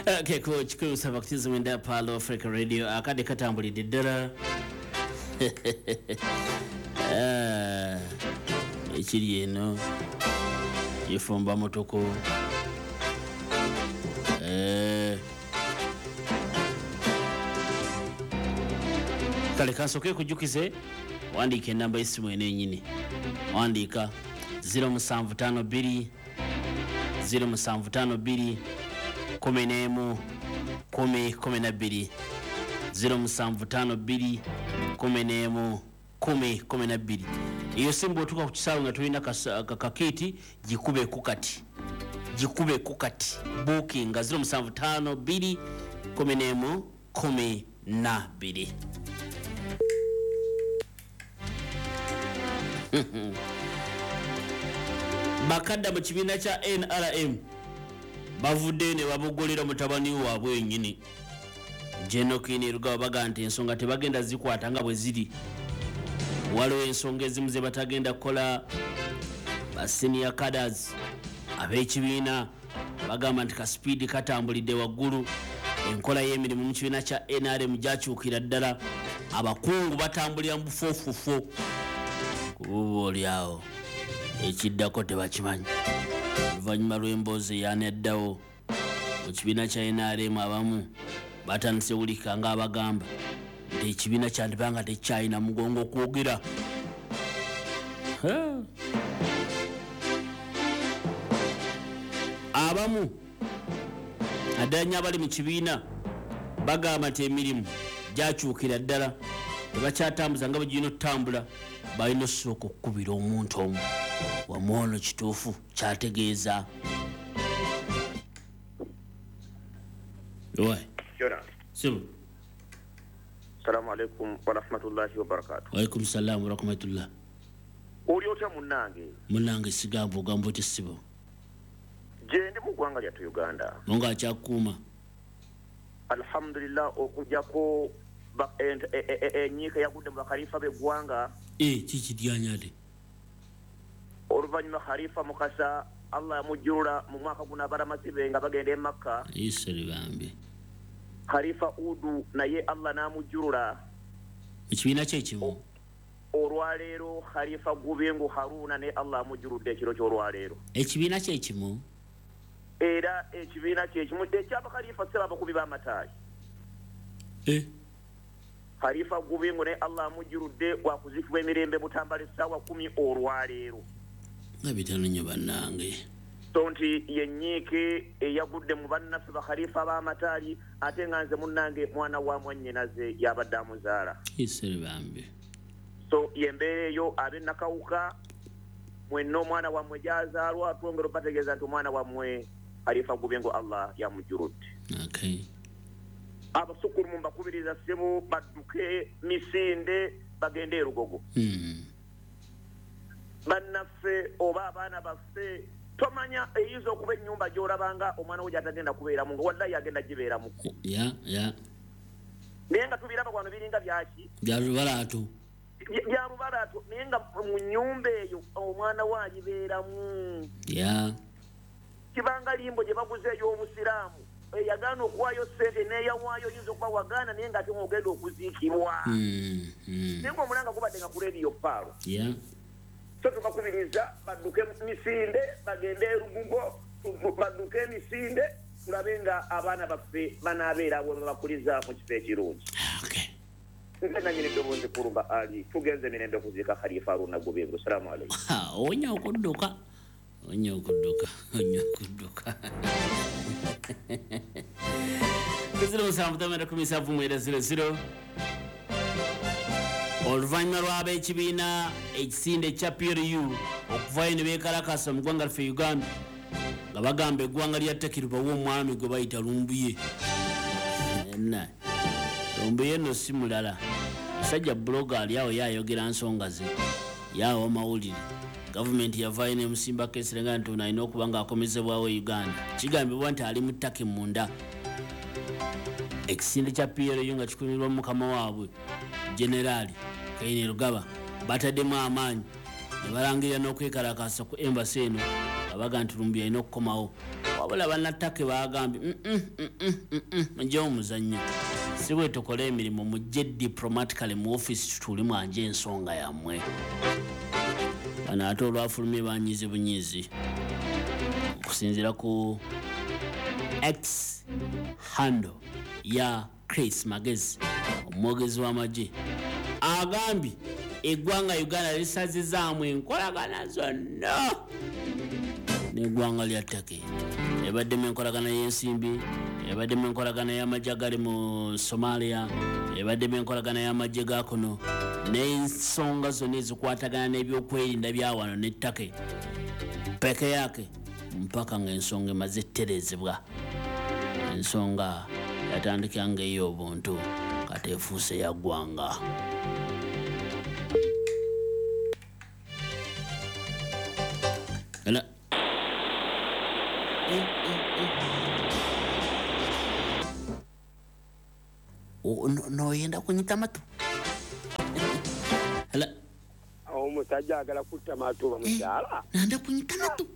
Keko 179 Palo Africa Radio akadde katambulidde ddala. Ekiri eno kifumba mutuku. Kale kansooke kujjukize, wandiika enamba y'essimu eno ennyini, wandiika 0752 0752 11 10 12 0752 11 10 12. Eyo simba otuuka ku kisaawe nga tulina kakiiti, gikubeko kati, gikubeko kati, bookinga 0752 11 12. Bakadda mu kibiina kya NRM bavudde ne babogolera mutabani waabwe yennyini General Kainerugaba, baga nti ensonga tebagenda zikwata nga bwe ziri. Waliwo ensonga ezimu ze batagenda kukola. Ba senior cadres ab'ekibiina bagamba nti kasipiidi katambulidde waggulu, enkola y'emirimu mu kibiina kya NRM gyakyukira ddala, abakungu batambulira mu bufuufufo, kububa oliawo ekiddako tebakimanyi. Oluvannyuma lw'emboozi eyaneddawo mu kibiina kya NRM, abamu batandise wulika nga abagamba nti ekibiina kyandibanga tekyalina mugongo okwogera. Abamu naddala nnyo abali mu kibiina bagamba nti emirimu gyakyukira ddala, tebakyatambuza nga bwe girina okutambula, balina osooka okukubira omuntu omu wamwono kituufu kyategeeza. Sibu. Assalamu alaikum warahmatullahi wabarakatuh. Wa alaikum salam warahmatullah. Oli otya munnange? Munnange sigamba ogamba otya sibo? Gye ndi mu ggwanga lyattu Uganda. Mungu akyakuuma. Alhamdulillah, okujjako enyiika yagudde mu bakhalifa b'eggwanga. Kiki ate? Oluvannyuma Khalifa Mukasa Allah yamujjulula mu mwaka guno abalamasi be nga bagenda e Makka. Iseri bambi. Khalifa Udu naye Allah n'amujjulula. Mu kibiina kye kimu. Olwaleero Khalifa Gubengo Haruna ne Allah amujjuludde ekiro ky'olwaleero. Ekibiina kye kimu. Era ekibiina kye kimu eky'abakhalifa ssebo abakubi b'amataayi. Khalifa Gubengo ne Allah amujjuludde wakuziikibwa emirembe Butambala essaawa 10 olwaleero. Nga bitano nnyo bannange. So nti yenyiike eyagudde mu bannaffe bakhalifa b'amataali, ate nga nze munnange mwana wa mwannyinaze yabadde amuzaala. Iseri bambi. So yembeera eyo ab'e Nakawuka mwenna omwana wammwe gy'azaalwa, twongera obategeeza nti omwana wammwe Khalifa Gubengo Allah yamujjuludde. Okay. Abasukulumu mbakubiriza ssebo badduke misinde bagende e Lugogo. Bannaffe oba abaana baffe tomanya eyinza okuba ennyumba gy'olabanga omwana we gy'atagenda kubeeramu nga wallahi agenda gibeeramu. Naye nga tubiraba wano biringa byaki? Bya lubalaatu. Bya lubalaatu, naye nga mu nnyumba eyo omwana we agibeeramu. Kibanga limbo gye baguze ey'obusiraamu eyagaana okuwaayo ssente n'eyawaayo oyinza okuba wagaana naye ng'ate ng'ogenda okuziikibwa. Naye ng'omulanga gubadde nga ku leediyo Paalo. So tubakubiriza badduke misinde bagende e Lugugo, badduke emisinde tulabe nga abaana baffe banaabeera abo babakuliza mu kifo ekirungi. Nze nannyini ddoboozi Kulumba Ali, tugenze mirembe kuziika Khalifa Haruna Gubengo. Assalamu alaikum. Onya okudduka, onya okudduka, onya okudduka. 0757 00. Oluvannyuma lw'ab'ekibiina ekisinde ekya PLU okuvayo ne beekalakasa mu ggwanga lyaffe Uganda nga bagamba eggwanga lya Turkey libawe omwami gwe bayita Lumbuye. Lumbuye nno si mulala, musajja buloga ali awo yaayogera nsonga ze, yaawa mawulire. Gavumenti yavaayo n'emusimbako ensirenga nti ono alina okuba ng'akomezebwawo e Uganda. Kigambibwa nti ali mu Turkey munda. Ekisinde kya PLU nga kikumirwa mukama waabwe Generali Kainerugaba bataddemu amaanyi ne balangirira n'okwekalakasa ku embassy eno, abaga nti Lumbuye alina okukomawo. Wabula Wabula bannatake bagambye mujje omuzannyo, si bwe tukola emirimu, mujje diplomatically mu office tutuule mwanje ensonga yammwe. Bano ate olwafulumye banyize bunyizi okusinziira ku X handle ya Chris Magezi, omwogezi w'amagye, agambye eggwanga Uganda lisazizaamu enkolagana zonna n'eggwanga lya Turkey. Ebaddemu enkolagana y'ensimbi, ebaddemu enkolagana y'amagye agali mu Somalia, ebaddemu enkolagana y'amagye ga kuno, n'ensonga zonna ezikwatagana n'ebyokwerinda bya wano ne Turkey peke yake, mpaka ng'ensonga emaze ettereezebwa. Ensonga yatandika ng'ey'obuntu, kati efuuse ya ggwanga. Hello. Noyenda kunyita matu. Hello. Omusajja agala kutta matu bamukyala. Nanda kunyita matu.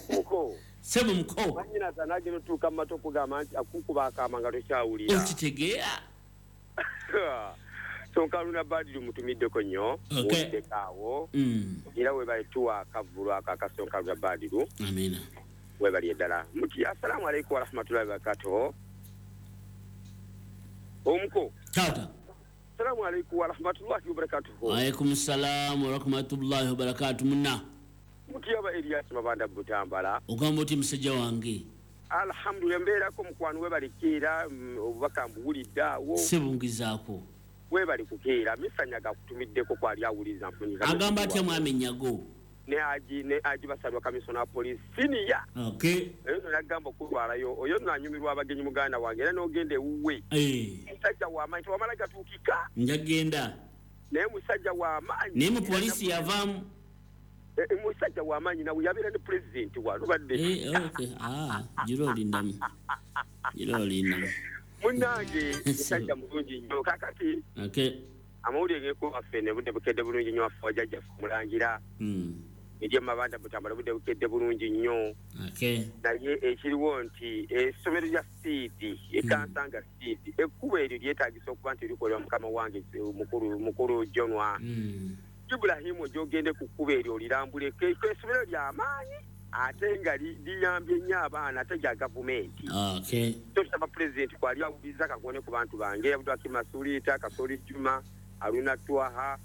Muko. Sebo muko. Manyina tanagenda tuuka mu matu okugamba nti akukuba akaama nga tokyawulira. Okitegeera. Sonkaluna Badru mutumiddeko nnyo. Muwuliddeko. Era webale tuwa akavvulu ako akasonkaluna Badru. Amina. Webali eddala. Muti assalamu alaikum warahmatullahi wabarakatuh. Omuko. Tata. Assalamu alaikum warahmatullahi wabarakatuh. Wa alaikum salam warahmatullahi wabarakatuh munna. Mutiyaba Elias Mabanda Butambala. Ogamba oti musajja wange. Alhamdulillah mbeerako mukwano webali keera obubaka mbuwulidde awo. Sebungizaako. Webali kukeera misanyaga kutumiddeko kwali awuliza mpunyika. Agamba atya mwami Nyago. Ne aji basalwa kamisona police senior. Okay. Eyo nagamba okulwalayo oyo nanyumirwa abagenyi muganda wange era n'ogenda ewuwe. Musajja w'amaanyi tewamala gatuukika. Njagenda. Naye musajja w'amaanyi. Naye mu poliisi yavaamu. Musajja w'amaanyi nawe yabeera ne pulezidenti walubadde. Okay. Girolindamu. Girolindamu. Munnange musajja mulungi nnyo kakati. Okay. Amawulire g'ekuwaffe ne budde bukedde bulungi nnyo waffe wajjajjaffe Mulangira. Eri Mabanda Butambala budde bukedde bulungi nnyo. Okay. Naye ekiriwo nti essomero lya Seed, ekansanga Seed, ekkubo eryo lyetaagisa okuba nti likolebwa mukama wange mukulu Jonwa. Ibrahimu gy'ogende ku kkubo eryo olirambuleko, essomero ly'amaanyi ate nga liyambye nnyo abaana ate lya gavumenti. Okay. Tusaba pulezidenti kwali awuliriza kakone ku bantu bange, Abdulhakim Masulita, Kasoli Juma, Haruna Twaha,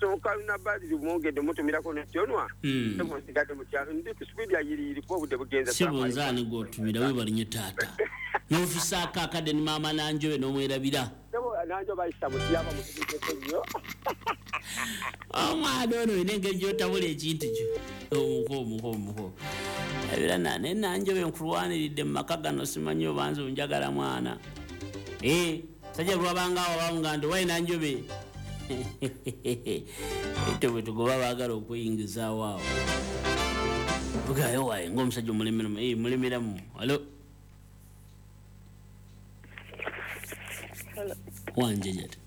Sonkaluna Badru mwongedde mutumirako ne Jonwa. Nsigadde mu kyalo ndi ku sipiidi ayiriiri kuba obudde bugenza. Sebo nze ani gw'otumira webale nnyo taata. N'ofisaako akadde ne maama Nanjobe n'omwerabira. Sebo Nanjobe bayisa mutiyaba mutumiddeko nnyo. Omwana ono olina engeri gy'otabula ekintu kyo. Omuko. Ebira ne Nanjobe nkulwaniridde mu maka gano simanyi oba nze onjagala mwana. Sajja lwabanga awo bamugamba nti wayi Nanjobe. Ete bwe tugoba baagala okuyingizaawo awo. Ogayo wayi ng'omusajja omulemeramu. Mulemeramu. Hello. Hello. Wanje jata.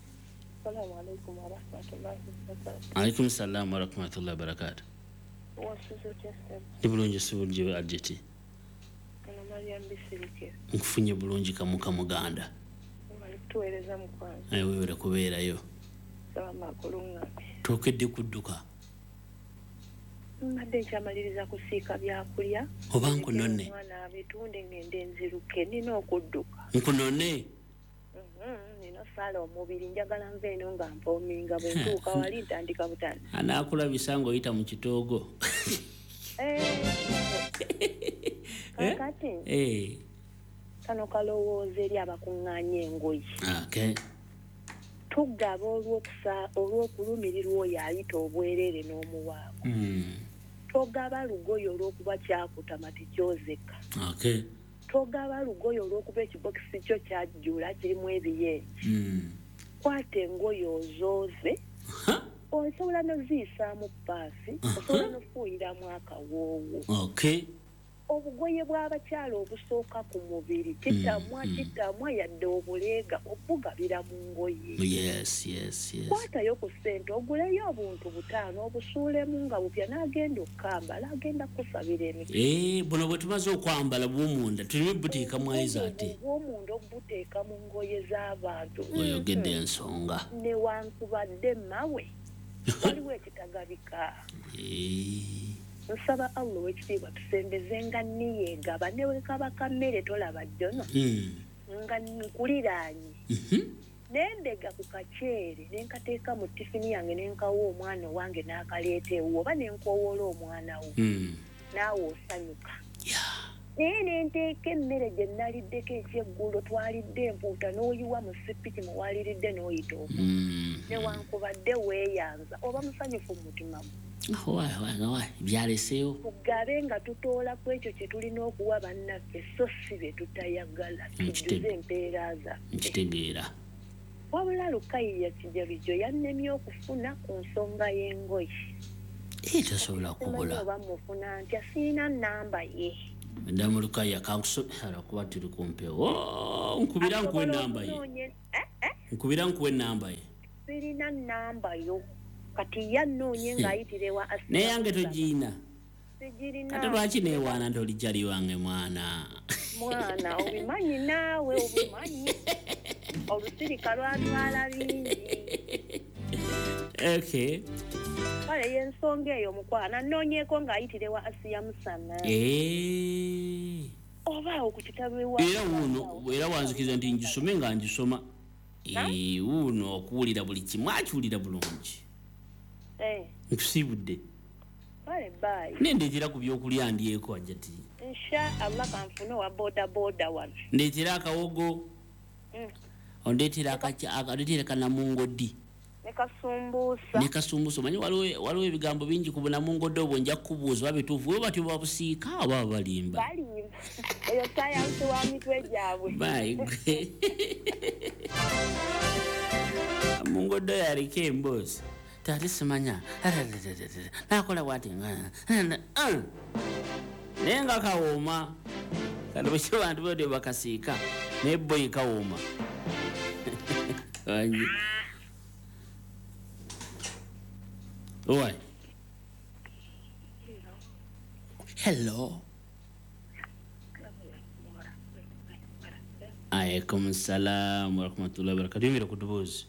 Assalamu alaikum warahmatullahi wabarakatuh. Alaikum salam warahmatullahi wabarakatuh. Ndi bulungi si bulungi Ajeti. Nkufunye bulungi kamuka muganda. Tuweereza mukwano. Aye weewere kubeerayo. Tookedde kudduka. Mbadde nkyamaliriza kusiika byakulya. Oba nkunone. Omwana abitunde ngende nziruke nina okudduka. Nkunone? Nina sala omubiri njagala nve eno nga mpoominga bwe ntuuka wali ntandika butandisi. Anaakulabisa ng'oyita mu kitoogo. Kakati. Kano kalowooza eri abakuŋŋaanya engoye. Okay. Tugaba olw'okulumirirwa oyo ayita obwereere n'omuwaako. Togaba lugoye olw'okuba kyakutama tekyozeka. Okay. Togaba lugoye olw'okuba ekibokisi kyo kyajjula kirimu ebiyenje. Kwata engoye ozooze. Osobola n'oziyisaamu ppaasi, osobola n'ofuuyiramu akawoowo. Okay. Obugoye bw'abakyala obusooka ku mubiri kitamwa yadde obuleega obugabira mu ngoye. Yes. Kwatayo ku ssente oguleyo obuntu 5 obusuulemu nga bupya n'agenda okukambala agenda kusabira emikisa. Buno bwe tumaze okwambala bw'omunda tuleme buteeka mu ayiza ate. Obw'omunda obuteeka mu ngoye z'abantu. Oyogedde ensonga. Newankubadde mawe waliwo ekitagabika. Nsaba Allah ow'ekitiibwa tusembeze nga nniyeegaba ne bwe kaba kammere tolaba jjono nga nkuliraanye nendega ku kaceere ne nkateeka mu tifini yange ne nkawa omwana owange n'akaleeta ewuwo oba ne nkoowoola omwana wo naawe osanyuka. Naye ne nteeka emmere gye naliddeko ekyeggulo twalidde empuuta n'oyiwa mu sipiki mwe waliridde n'oyita omu newankubadde weeyanza oba musanyufu mu mutima gwo. Byaleseewo tugabe nga tutoola ku ekyo kye tulina okuwa bannaffe so si bye tutayagala tujjuze empeera zaffe. Nkitegeera. Wabula Lukayiya Kijabijo yannemye okufuna ku nsonga y'engoye. Tosobola kubula. Oba mufuna ntya sirina nnamba ye. Madamu Lukaya kankusomera kuba tuli ku mpewo. Nkubira nkuwe ennamba ye. Nkubira nkuwe ennamba ye. Sirina nnamba yo. Kati yannoonye ng'ayitire wa Asiya. Naye yange togiina. Sigirina. Kati lwaki neewaana nti oli jali wange mwana? Mwana obimanyi naawe obimanyi. Olusirika lwatwala bingi. Okay. Kale y'ensonga eyo mukwana nnoonyeeko ng'ayitire wa Asiya Musana. Oba awo ku kitabo ewa. Era wuuno era wanzikiriza nti ngisome nga ngisoma. Wuuno okuwulira buli kimu akiwulira bulungi. Nkusiibudde. Kale bye. Nendeetera ku byokulya ndyeko ajjati. Insha Allah kanfune owa boda boda wano. Ndeetera akawogo. Ondeetera kanamungoddi. Ne kasumbusa. Ne kasumbusa. Omanyi waliwo ebigambo bingi ku bunamungoddi obwo nja kukubuuza oba bituufu oba batyo babusiika oba balimba. Balimba. Eyo sayansi wa mitwe gyabwe. Bye. Mungoddi oyo aliko emboozi. Tate simanya nakola bwati naye nga kawooma kati bwekyo bantu bode bakasiika naye boyi kawooma. Oi. Hello. Alaikum salam wa rahmatullahi wa barakatuh. Yongera ku ddoboozi.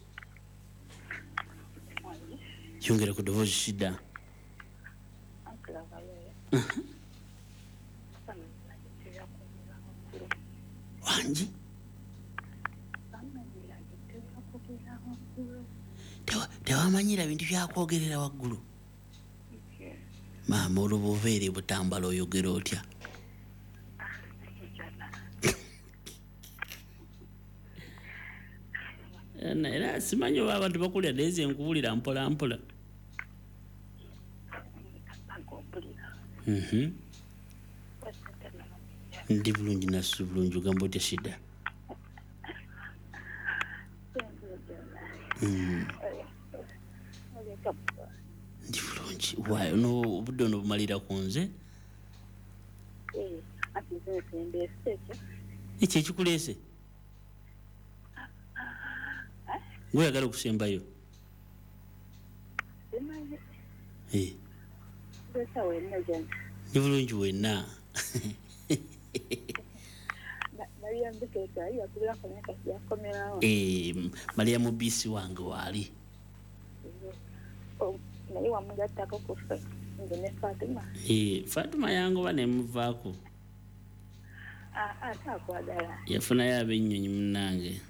Yongera ku ddoboozi shida. Wangi? Tewamanyira bintu byakwogerera waggulu. Maama olubuveere butambala oyogera otya? Era simanyi oba abantu bakulira naye nze nkuwulira mpola mpola. Ndi bulungi nasu bulungi ogamba otya shida? Ndi bulungi. Waayo obudde ono bumalira ku nze? Ekyo ekikuleese? Gweyagala okusembayo? Ndi bulungi wenna. Maria mubisi wange waali. Fatuma yangoba nemuvaako. Yafunayo ab'ennyonyi munnange.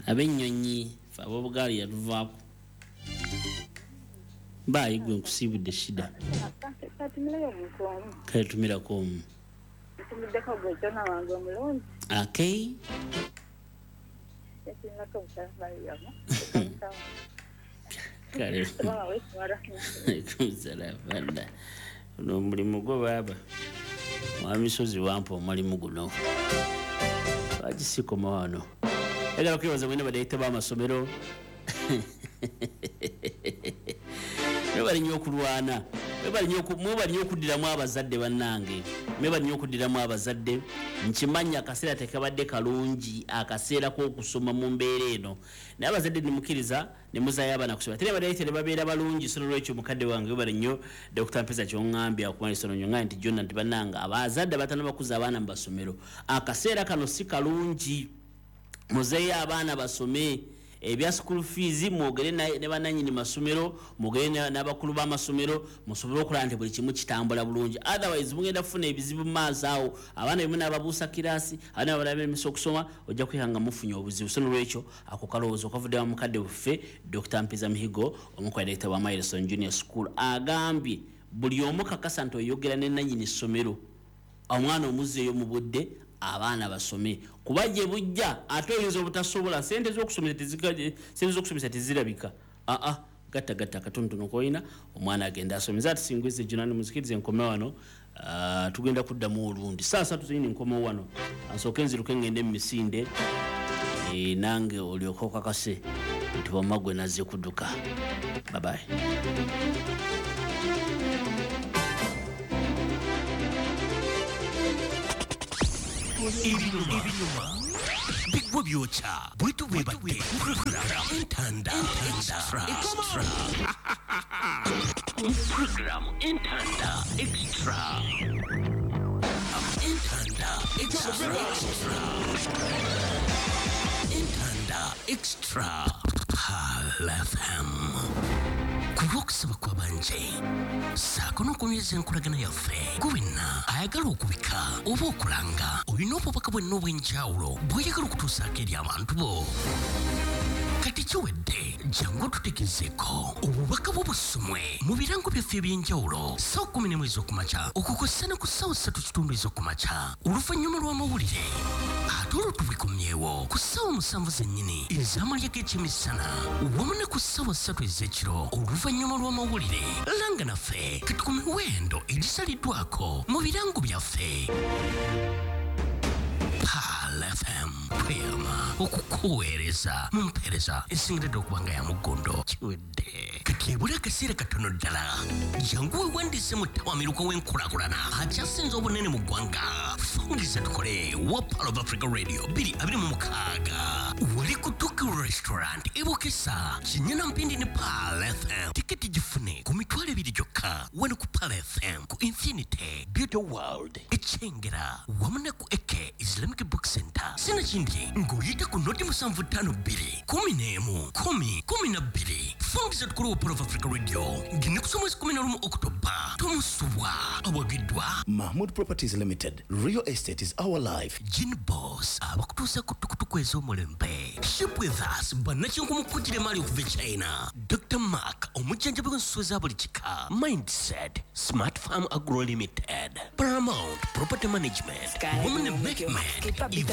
Ab'ennyonyi fe ab'obugaali yatuvaako. Baayi gwe nkusiibudde shida. Kale tumirako omu. Okay. Kale. Ono omulimu gwo baaba. Mwami Sozi wampa omulimu guno. Lwaki sikoma wano? Njagala okwebaza mwenna badirekita b'amasomero. Nabo bali nnyo okulwana. Mwebale nnyo okuddiramu abazadde bannange, mwebale nnyo okuddiramu abazadde. Nkimanyi akaseera tekabadde kalungi, akaseera k'okusoma mu mbeera eno, naye abazadde nemukkiriza ne muzaayo abaana kusoma, ate ne babeera balungi. So nolwekyo mukadde wange webale nnyo Dr. Mpeza kyoŋŋambye akumalisa nnyo ŋŋambye nti Jonna nti bannange abazadde abatannaba bakuza abaana mu masomero, akaseera kano si kalungi, muzeeyo abaana basome. Ebya school fees mwogere ne bannannyini masomero, mwogere n'abakulu b'amasomero, musobole okulaba nti buli kimu kitambula bulungi. Otherwise mugenda kufuna ebizibu mu maaso awo, abaana bemu n'ababuusa kiraasi, abaana babalemesa okusoma, ojja kwekanga mufunye obuzibu. So nolwekyo ako kalowoozo kavudde wa mukadde waffe Dr. Mpiza Mihigo, omu ku director wa Milestone Junior School, agambye buli omu kakasa nti oyogera ne nannyini ssomero, omwana omuzzeeyo mu budde, abaana basome, kuba gye bujja ate oyinza obutasobola, sente z'okusomesa tezirabika. Aa gatta gatta akatonotono k'olina, omwana agenda asome. Ati singwize Junani, muzikirize nkome wano, tugenda kuddamu olundi saa 3 zenyini nkomewo wano, ansooke nziruke ngende mu misinde, nange olyoke okakase nti wamma gwe nazze kudduka. Bye bye. Ibinyuma bigwa byokya bwetu bwebadde program Entanda Extra. Program Entanda Extra. Entanda Extra. Entanda Extra. Pearl FM. Kulw'okusaba kw'abanje ssaako n'okunyweza enkolagana yaffe, gwe wenna ayagala okubika oba okulanga, olina obubaka bwenna obw'enjawulo bw'oyagala okutuusaako eri abantu bo. Kati kiwedde, jangu otutegezeeko obubaka bwo busomwe mu birango byaffe eby'enjawulo ssaawa 11 ez'okumakya okukosa ne ku ssaawa 3:15 ez'okumakya oluvannyuma lw'amawulire, ate olwo tubikomyewo ku ssaawa 7 zennyini ez'amalya g'ekyemisana wamu ne ku ssaawa 3 ez'ekiro oluvannyuma lw'amawulire. Langa naffe kati ku miwendo egisaliddwako mu birango byaffe. Pearl FM tweyama okukuweereza mu mpeereza esingiridde okuba nga ya muggondo. Kiwedde kati ebula akaseera katono ddala, jangu weewandiise mu ttawamiruka w'enkulaakulana akyasinze obunene mu ggwanga. Fungiza tukole wa Pearl of Africa Radio 2026 wali ku Tuki Restaurant e Bukesa, Kinyana Mpindi ne Pearl FM. Tiketi gifune ku 20,000 gyokka wano ku Pearl FM, ku Infinity Beauty World e Kyengera wamu ne ku Eke Islamic Book Center. Sinakindi ng'oyita ku noti 752 11 10 12. Fungiza tukole wa Pearl of Africa Radio ng'ennaku z'omwezi 11 Oktoba. Tomusubwa awagiddwa Mahmood Properties Limited. Real estate is our life. Gin Boss abakutuusa ku tukutuku ez'omulembe. Ship with us bannakinku mu kugira emaali okuva e China. Dr. Mark omujjanjabi w'ensolo za buli kika. Mindset Smart Farm Agro Limited, Paramount Property Management wamu ne Mehmed.